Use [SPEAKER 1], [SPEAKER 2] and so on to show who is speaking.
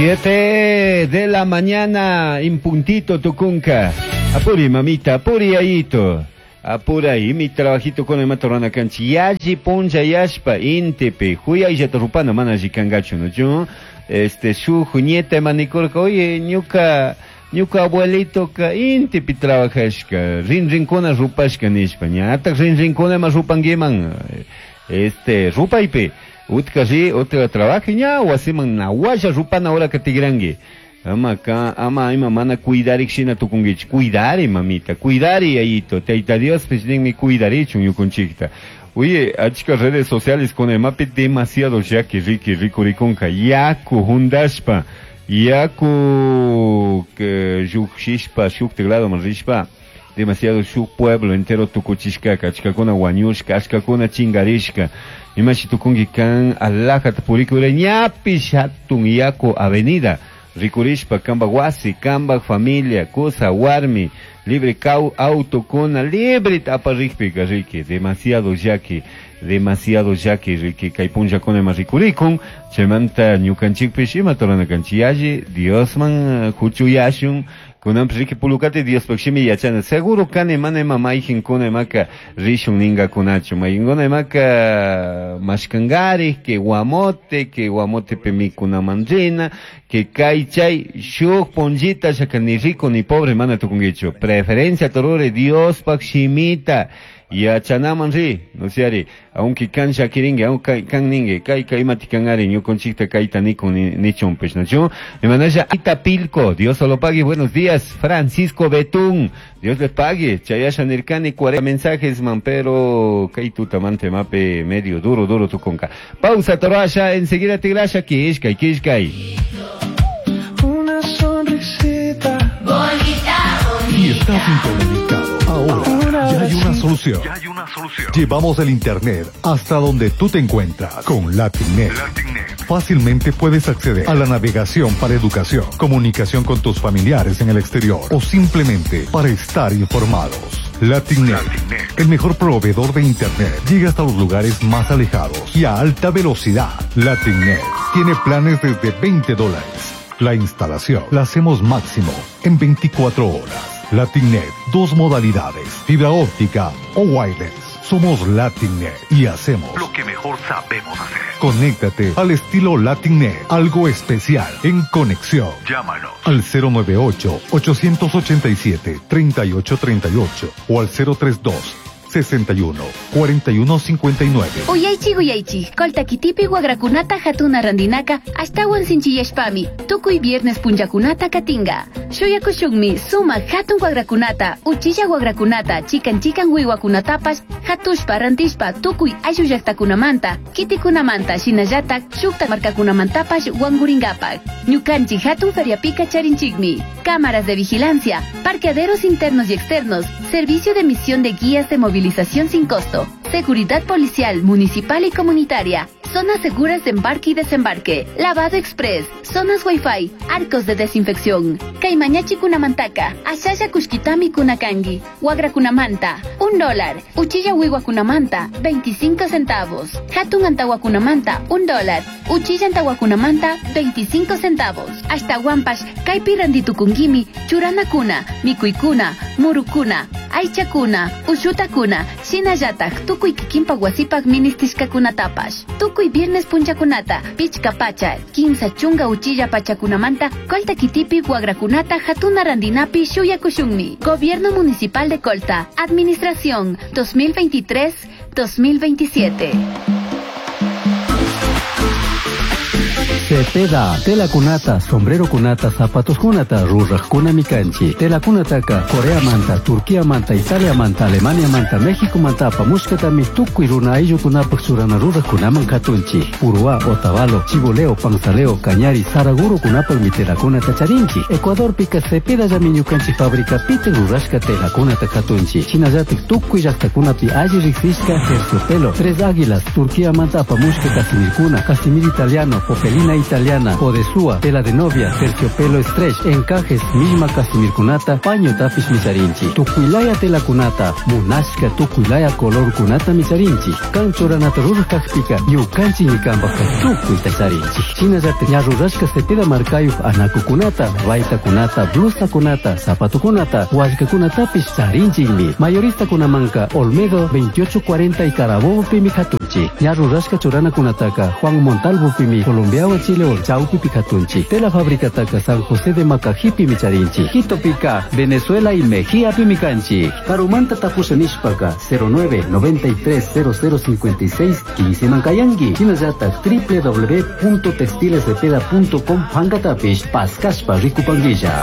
[SPEAKER 1] 7 de la mañana en puntito tucunca. Apuri mamita, apuri ayito. Apuray, mi trabajito con el matorana canchi. Yaji punja yashpa intipi. Huyayllata rupana mana alli kangachu, no yo este shuj nieta manikurka, oye, ñuka ñuka abuelito ka intipi trabajashka, rin rinkuna rupashka nishpa, ñatak rin rinkuna ma rupanguiman, este rupaypi, utka ri, utka trabaje ña, wasiman nawasha rupana hora ka tigrangi. Ama ka, ama ima mana cuidarik shina tukunguich, cuidari mamita, cuidari ayito, Tayta Dios pues ninmi cuidarichun ñukunchikta. Oye, achka redes sociales con el mapi demasiado yaki riki rikurikunka, yaku hundashpa, yaku que yuxishpa, shuk teclado manrishpa, demasiado shuk pueblo entero tukuchishka, achkakuna wañushka, achkakuna chingarishka. Imashi tukungi kan alajat purikure ñapi shatun yaku avenida. Rikurishpa, kamba wasi, kamba familia, kusa, warmi, libre kau, auto, kuna, libre tapa rikpika, riki, demasiado yaki, demasiado yaki, riki, kay punlla kuna ima rikurikun, chaymanta ñukanchikpish ima torana kanchik yalli, Diosman huchuyashun, kunanpish riki pulukati Diospaj shimi yachana, seguro kani mana ima mayjinkuna imaka rishun ningakunachu, mayjinkuna imaka mashkangari, que guamote, que guamotepi mikunaman rina, que kay chay shuk punllita shaka ni rico ni pobre mana tukunkichu, preferencia torure Diospaj shimita yachanaman ri, no sé, aunque kan shakiringue, aunque kan ningue, kay kay imati kanari, ñukunchikta kayta nikun nichunpish, ¿no? Yo, mi manaya Itapilco, Dios lo pague, buenos días, Francisco Betún, Dios le pague, Chayasha Nirkani, 40 mensajes, man, pero kay tutamante mape medio duro, duro tu conca. Pausa, Torasha, enseguida te grasha, kishkay, kishkay.
[SPEAKER 2] Una sonrisita
[SPEAKER 3] bonita, bonita.
[SPEAKER 4] Y estás incomunicado ahora. Ya hay una solución.
[SPEAKER 5] Ya hay una solución.
[SPEAKER 4] Llevamos el internet hasta donde tú te encuentras con LatinNet.
[SPEAKER 5] LatinNet.
[SPEAKER 4] Fácilmente puedes acceder a la navegación para educación, comunicación con tus familiares en el exterior o simplemente para estar informados. LatinNet,
[SPEAKER 5] LatinNet.
[SPEAKER 4] el mejor proveedor de internet, llega hasta los lugares más alejados y a alta velocidad. LatinNet tiene planes desde $20. La instalación la hacemos máximo en 24 horas. LatinNet, dos modalidades, fibra óptica o wireless. Somos LatinNet y hacemos
[SPEAKER 5] lo que mejor sabemos hacer.
[SPEAKER 4] Conéctate al estilo LatinNet, algo especial en conexión.
[SPEAKER 5] Llámanos
[SPEAKER 4] al cero nueve ocho, ochocientos ochenta y siete, treinta y ocho treinta y ocho o al cero tres dos, sesenta y uno, cuarenta y uno, cincuenta y nueve.
[SPEAKER 6] Uyaychi, uyaychi, Colta kitipi wagrakunata hatuna randinaka, ashtawan sinchiyashpami, tukuy viernes punllakunata katinga. Shuyakushunmi, suma hatun wagrakunata, uchilla wagrakunata, chikan chikan wiwakunatapash, hatushpa rantishpa, tukuy ayllu llaqtakunamanta, kitikunamanta, shinallatak, shukta markakunamantapash wanguringapak. Ñukanchik hatun feriapika charinchikmi, cámaras de vigilancia, parqueaderos internos y externos, servicio de emisión de guías de movilización sin costo, seguridad policial, municipal y comunitaria, zonas seguras de embarque y desembarque, lavado express, zonas wifi, arcos de desinfección. Kaymañachi kunamantaka, ashalla kushkitami kunakangi, wagra kunamanta, un dólar, uchilla wiwa kunamanta, 25 centavos, hatun antawa kunamanta, un dólar, uchilla antawa kunamanta, 25 centavos, hasta guampash, kaypi randitukungimi, churana kuna, mikuykuna, murukuna, aychakuna, ushutakuna, shinallatak, tukuy kikinpak wasipak ministishkakunatapash. Tukuy viernes punchakunata, pichka pacha, kinsa chunga uchilla pachakunamanta, Colta kitipi wagrakunata, hatuna randinapi shuyakushunmi. Gobierno Municipal de Colta, Administración 2023-2027.
[SPEAKER 7] Cepeda, tela kunata, sombrero kunata, zapatos kunata, ruraj kuna mikanchi. Tela kunataka, Corea manta, Turquía manta, Italia manta, Alemania manta, México manta, apamushkatami, tukuy runa ayllu kunapak churana ruraj kunaman katunchi. Uruá, Otavalo, Chiboleo, Panzaleo, Cañari, Saraguro kunapak mi tela kunata charinchi. Ecuador pika Cepeda llami ñukanchi fábrica pite rurashka tela kunata katunchi. Shinallatik tukuy llaqtakunapi alli riqsishka terciopelo, Tres Águilas, Turquía manta, apamushka casimirkuna, casimir italiano, popelina italiano. italiana, odesúa, tela de novia, terciopelo stretch, encajes, misma casimirkunata, paño tapish micharinchi. Tukuylaya telakunata, munashka tukuylaya colorkunata micharinchi. Kan churanata ruraj kakpika, ñukanchikmi kanpajka tukuyta charinchik. Shinallatak ña rurashka Cepeda markayuq anakukunata, baytakunata, blusakunata, zapatukunata, wallkakunatapish charinchikmi. Mayoristakunamanka Olmedo 2840 y Carabobopimi katunchik. Ña rurashka churanakunataka Juan Montalvopimi, Colombiawan Chilewan chawpipi katunchik. Tela fabricataka San José de Macajipimi charinchik. Quitopika, Venezuela y Mejíapimi kanchik. Karumanta tapusha nishpaka 09 93 0056 15 mankayanki. Shinallatak www.textilescepeda.com pankatapish paskashpa rikupankilla.